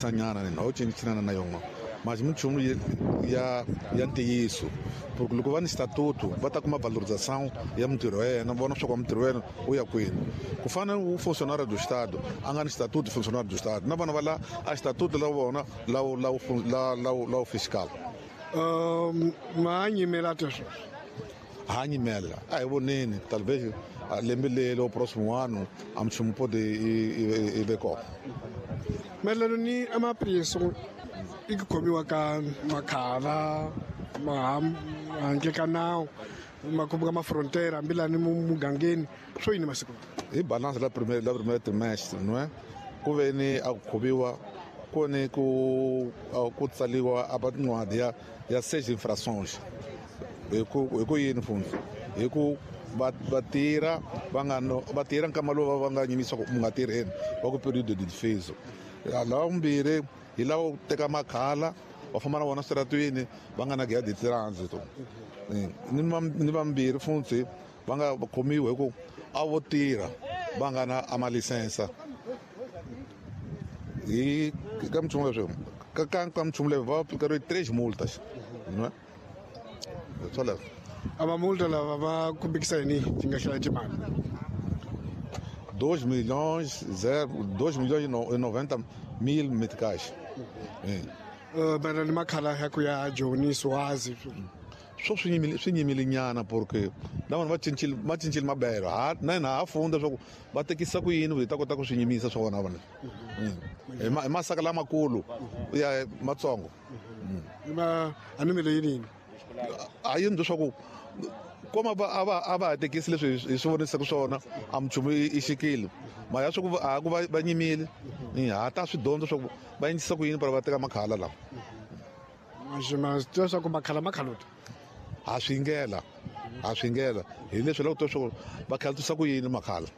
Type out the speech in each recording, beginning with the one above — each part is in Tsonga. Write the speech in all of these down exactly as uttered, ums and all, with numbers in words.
Nyana ni ho cincinana na yona mas minchumu ya ya ntiyiso porque loko va ni statuto va ta kuma valorização ya mintirho ya yena vona swa ku mintirho ya yena u ya kwini ku fana u funcionário do estado a nga ni statuto funcionário do estado na vona va la a statuto la vona la la la la la fiscal um ma nyimela teswo ha nyimela a hi voneni talvez lembe lelo próximo ano a minchumu pode i ve kona mayelana ni amapriso i ku khomiwa ka makhala ma handle ka nawu makhombo ka mafrontiera hambi lani mugangeni swo yini masiku hi balance la premier la premier trimestre não é ku ve ni a ku khomiwa ku ni ku ku tsaliwa a tincwadi ya ya seis infrações hi ku hi ku yini fundi hi ku va va tirha va nga va tirha nkama lowu va nga nyimisa ku mu nga tirheni va ku período de defeso lava vumbirhi hi lava ku teka makhala va famba na vona switaratwini va nga na guia de trânsito ni ni vambirhi futhi va nga khomiwi hi ku a vo tirha va nga na a malisensa hi ka minchumu leswi ka ka ka minchumu leyi va aplicariwe três multas não é swoleswo a va multa lava va kumbekisa yini ti nga hlaya timali dois milhões zero dois milhões e noventa mil meticais. Mayelana ni makhala ya ku ya Joni Swazi swo swi nyimile swi nyimile nyana porque na vanhu va cincile va cincile mabelo ha na hina ha funda swa ku va tekisa ku yini hi ta kota ku swi nyimisa swa vona vona hi hi masaka lamakulu ya matsongo ma a ni mele yini a yini leswaku koma va a va a va ha tekisi leswi hi swi vonisaka swona a minchumu i xikile ma ya swa ku a ku va va nyimile ha ta swi dyondza swa ku va endlisa ku yini para va teka makhala lawa ma tiva swa ku makhala makhalota ha swi ngela ha swi ngela hi leswi loko to swa ku va khalatisa ku yini makhala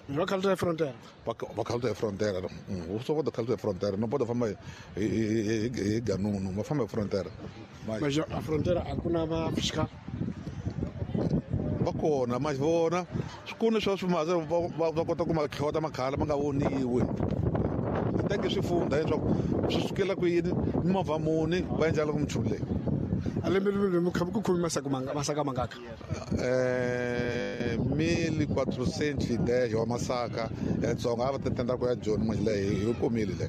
va khalota hi frontiera va khalota hi frontiera u swo kota khalota hi frontiera no pode famba hi hi hi ganunu va famba hi frontiera mas a frontiera a ku na va fiscal va kona ma vona swikulu swa swi maze va va kota ku ma tlhota makhala ma nga voniwi teke swi funda leswaku swi sukela ku yini mimovha muni va endla loko minchumu leyi a lembe lembe mi kha ku khomi masaka manga masaka mangaka eh mil quatrocentos e dez wa masaka ya Tsonga a va tenda ku ya Joni manje leyi hi kumile le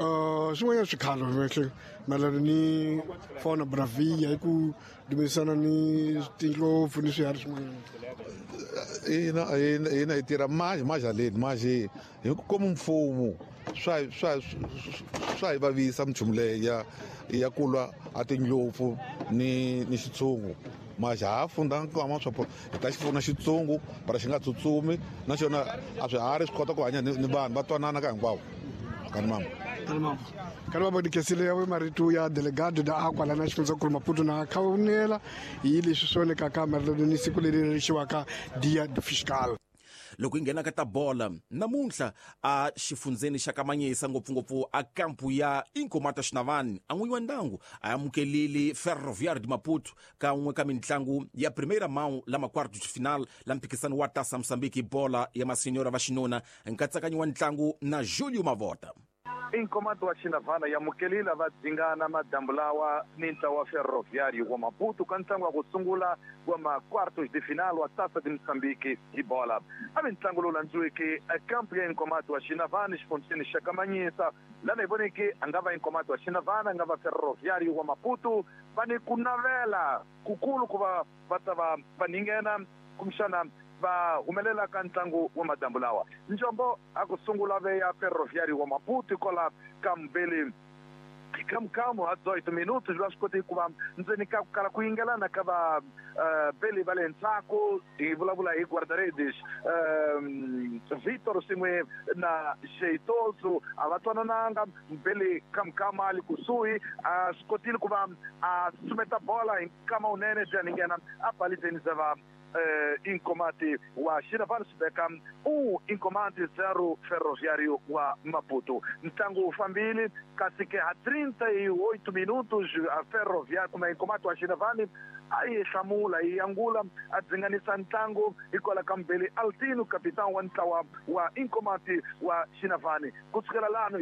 uh swin'wanyana swikhalo mehle mayelana ni fauna bravia hi ku dumisana ni tindlopfu ni swiharhi swin'wanyana ina ina ina hi tirha manje manje haleni manje hi ku kuma mfumo swa swa swa hi vavisa minchumu leyi ya ya ku lwa a tindlopfu ni ni xitshungu manje ha funda nkama swa hi ta xi pfuna xitshungu para xi nga tsutsumi naxona a swiharhi swi kota ku hanya ni vanhu va twanana ka hinkwavo kanimama kanimama kanimama dikesile ya marito ya delegado da akwa lana xifundzankulu Maputo na khawunela hi leswi swi vonekaka mayelana ni siku leri rixiwaka Dia do Fiscal loko hi nghena ka ta bola namuntlha a xifundzeni xa Kamanyisa ngopfungopfu a kampu ya Inkomata Xinavani a n'winyi wa ndyangu a amukelile Ferroviário de Maputo ka n'we ka mitlangu ya primeira mão la quarto de final la mphikisano wa Taça Moçambique bola ya masenyora va xinuna nkatsakanyo wa ntlangu na Julio Mavota Inkomato wa Xinavana yamukelile va dzingana madambu lawa ni ntlawa wa Ferroviário wa Maputo ka ntlangu wa ku sungula wa ma quartos de final wa Taça de Moçambique hi bola a vi ntlangu lowu landziweke ekampu ya Inkomato wa Xinavana xifundzeni xa Kamanyisa lana hi voneke a nga va Inkomato wa Xinavana a nga va Ferroviário wa Maputo va ni ku navela kukulu ku va va ta va va ninghena kumbexana va humelela ka ntlangu wa madambu lawa njombo a ku sungula ve ya Ferroviário wa Maputo kola ka mbele kamkamu a dezoito minutos va swi koti ku va ndzeni ka ku kala ku yingelana ka va beli va le ndzhaku hi vulavula hi guarda-redes um Vitor swin'we na Sheitoso a va twanananga mbele kamkama a li kusuhi a swi kotile ku va a sumeta bola hi nkama wunene bya ninghena a balizeni za va eh, Inkomati wa Xinavane swi veka um Inkomati zero Ferroviário wa Maputo. Ntlangu wu fambile kasi ke ha trinta e oito minutos a Ferroviário kuma Inkomati wa Xinavane a yi hlamula yi angula a dzinganisa ntlangu hikwalaho ka Mbele Altino capitão wa ntlawa wa Inkomati wa Xinavane. Kusukela lano